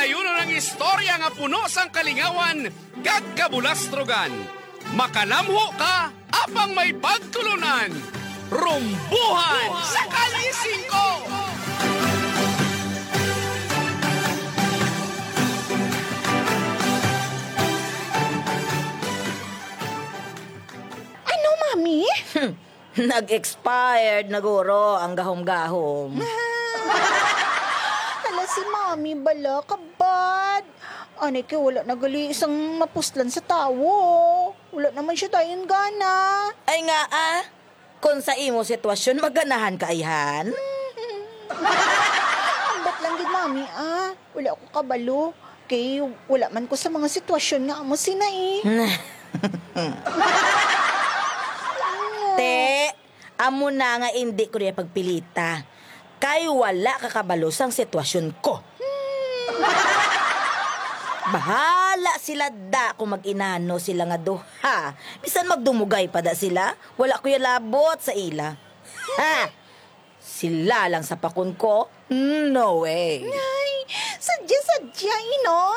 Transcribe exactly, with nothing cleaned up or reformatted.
Ayuno ang istorya nga puno sang kalingawan kag kabulastrogan. Makalamho ka apang may pagtulunan. Rumbuhan sa Kalye Singko! Ano, Mami? Nag-expired na guro ang gahom-gahom. Hala, si Mami bala, kabad. Anay kay wala na gali sang mapuslan sa tawo. Wala naman siya dayon gana. Ay nga ah, kung sa imo sitwasyon, maganahan ka, ayhan. Ambot lang gid, Mami, ah. Wala ko kabalo. Kay wala man ko sa mga sitwasyon nga amo sina eh. Te, amo na nga indi ko niya pagpilita. Kay wala ka kabalo sang sitwasyon ko. Bahala sila da kung mag-inano sila nga duha. Bisan magdumugay pa da sila, wala ko ya labot sa ila. Ha! Sila lang sa pakon ko? No way. Ay, sadya-sadya, ino.